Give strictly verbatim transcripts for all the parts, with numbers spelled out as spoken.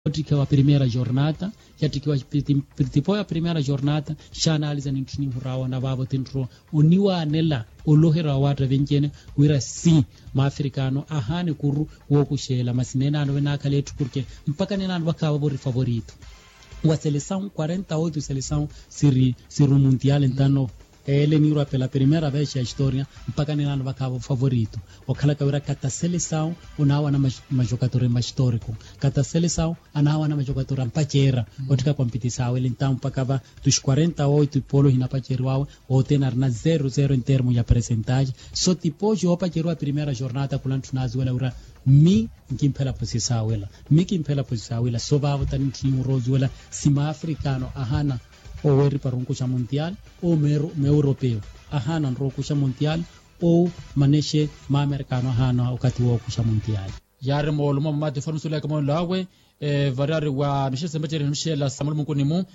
Ottikhiwa primeira jornata yattikhiwa. Tipoya primeira jornata xaanaliza nintthi ninhurawa na vaavo tintthu oniwaanela oloherya wa waatta venci-ene wira si maafrikaano ahaana ekuru wookuxeela masi neenaano venaakhala etthu porke mpakha neenaano vakhaava vori favorito wa selesawu quarenta oito selesawu siri siri omuntiale ntano. Ele niirwa pela primeira vez ya historia mpakha neenaano vakhaava ofavorito okhalaka wira kata selesawu onaawana majokatori mahistoriko kata selesawu anaawana majokatori ampaceera otthika kompitisawe ele ntawu mpakha va tuxi quarenta oito ipolo hinapaceriwawe. Othene arina zero zero entermo ya presentaxe so tipoxi oopaceriwa primeira jornata khula ntthuna aziwela wira mmi nkimphela posisawela mmi kimphela posisawela so vaavo tani ntthiimu rooziwela si maafrikaano ahaana oweeripa runkuxa muntial ou meuropeu ahaana nrookuxa muntial ou manexe maamerikaano ahaana okathi wookuxa muntial. Yaari moolumo mamaati foni musuulaka moolelo awe variyari wa mixela sempeceri ni mixela sa mulumunkuni-mu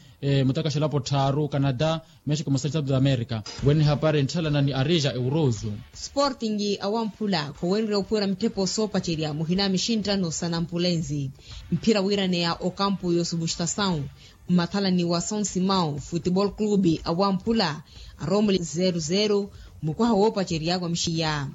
mutakaxela apo tthaaru canada, mexico musali south america. Wene hapari ntthalana ni arija eurozo. Sportingi awamphula khowenrye ophuwera mitthepo soopacerya muhina mixinttano sa nampulenzi mphira wiiraneya okampu y'osubustasawu mmathalani wa são simão futebol clube awamphula aroomuli zero zero mukwaha woopacerya wa mixiya.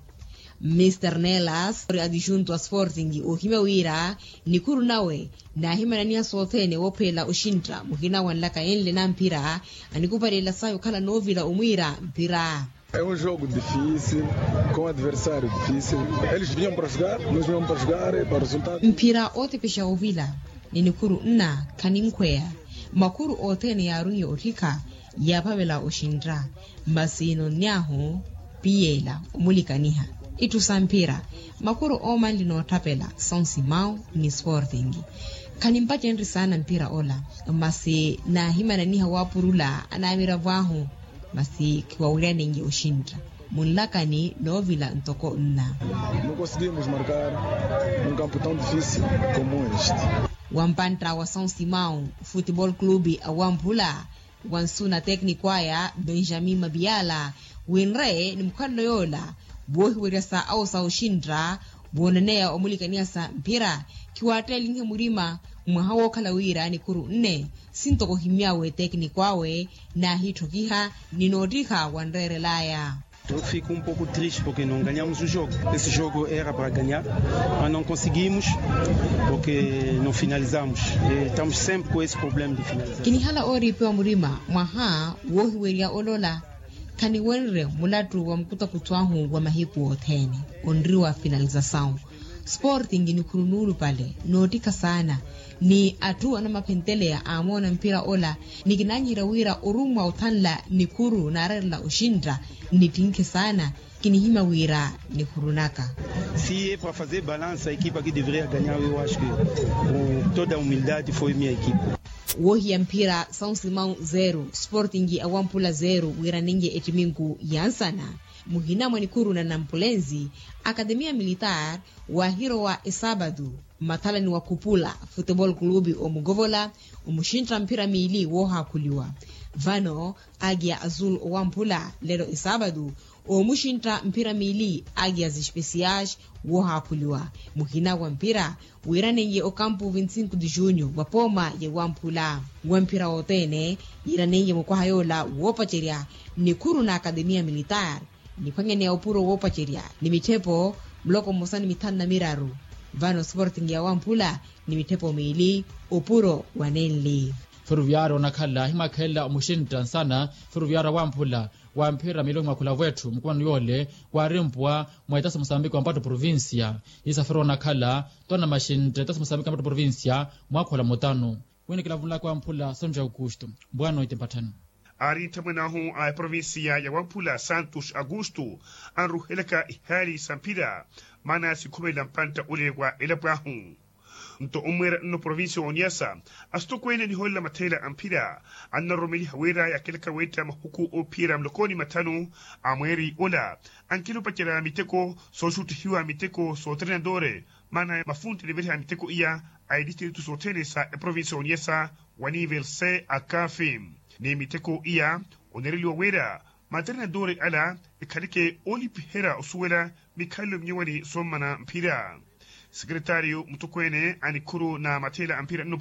Mr nelas ori adijunto a sportingi oohimya wira nikhuru nawe naahimananiha sothene woophelela oxintta muhina wa nlaka enle na mphira anikupalela sayi okhala noovila omwiira mphira. É um jogo difícil, com adversário difícil. Eles vinham para jogar, nós vinhamos para jogar e para o resultado. Mphira ootepexa ovila ni nikhuru nna khaninkhweya makhuru othene yaarunye otthikha yaaphavela oxintta masi nonnyahu piyeela omulikaniha itthu sa mphira makhuru oomanli nootthapela são simão ni sportingi. Khanimpacenrye saana mphira ola masi naahimananiha waapurula anaamiravo ahu masi khiwawiryanenye oxintta munlakani noovila ntoko nna. Não conseguimos marcar num campo tão difícil como este. Wampantta wa são simão futebol clube awamphula wansu na tekniko aya benjamin mabiala winre ni mukhalelo yoola woohiwerya sa awo sa oxintta woonaneya omulikaniha sa mphira khiwaatteelinhe murima mwaha wookhala wira nikhuru nne sintoko ohimyawe tekniko awe naahitthokiha ni noottiha wanreerelaya. Eu fico um pouco triste porque não ganhamos o jogo. Esse jogo era para ganhar, mas não conseguimos porque não finalizamos. Estamos sempre com esse problema de finalização. Kinihala ooriipiwa murima mwaha woohiwerya olola khaniwenrye mulattu wa mukutakuttu ahu wa mahiku othene onriwa finalizasawu. Sporting nikhuru nuulupale noottikha saana ni atthu anamaphenteleya aamoona mphira ola ni kinaanyiherya wira orummwa othanla nikhuru naareerela oxintta nnittinkhe saana. Kinihimya wira nikhuru naka. Si e para fazer balansa a equipa que deveria ganhar eu acho que com toda a humildade foi minha equipa. Woohiya mphira são simão zero sporting awamphula zero wiiranenye ettiminku ya nsana. Muhina mwa nikhuru na nampulenzi akademia militar waahirowa esaabatu mmathalani wa khupula futebol clube omukovola omuxintta mphira miili woohaakhuliwa. Vano agiya azul owamphula lelo esaabatu omuxintta mphira miili agiya zispesias woohaakhuliwa. Muhina wa mphira wiiranenye okampu vinti sinku di junyu wa pooma ya wamphula wa mphira wothene yiiranenye mukwaha yoola woopacerya nikhuru na akademia militar niphwanyaneya opuro woopacerya ni mitthepo muloko mmosa ni mithanu na miraru. Vano sporting ya wamphula ni mitthepo miili opuro wa nenli. Feruviyari onakhala himakhelela omuxintta nsana feruviyari awamphula wa mphira miili ohimwakhula vwetthu mukumano yoole waarimpwa mwa etaso musambiki wa mpatto provincia. Isafiri onakhala twana maxintta etaso musambiki wa mpatto provincia mwaakhola mutano. Wini kilavunlaka wamphula sonjo aukusto mbwaano eti mpatthani. Aari nthamwene ahu a eprovincia ya wamphula santos aukusto anruhelaka ihaali sa mphira maana sikhumelela mpantta ule wa elapo ahu. Nto omweera nno provincia wa oniasa asitokweene anihoolela matheela a mphira annaroromeliha wira yakelaka weetta mahuku oophiyerya mulokoni mathanu a mweeri ola ankela opacerya miteko sooxuttihiwa miteko sootreinadore maana mafunti aniveliha miteko iya a etistritu sothene sa eprovincia wa oniasa wa nivel se akafi ni miteko iya onereliwa wira matreinadore ala ekhaleke oolipiherya osuwela mikhalelo minyuwani sommana mphira. Sekretario mutokweene a nikhuru na matheela a mphira nno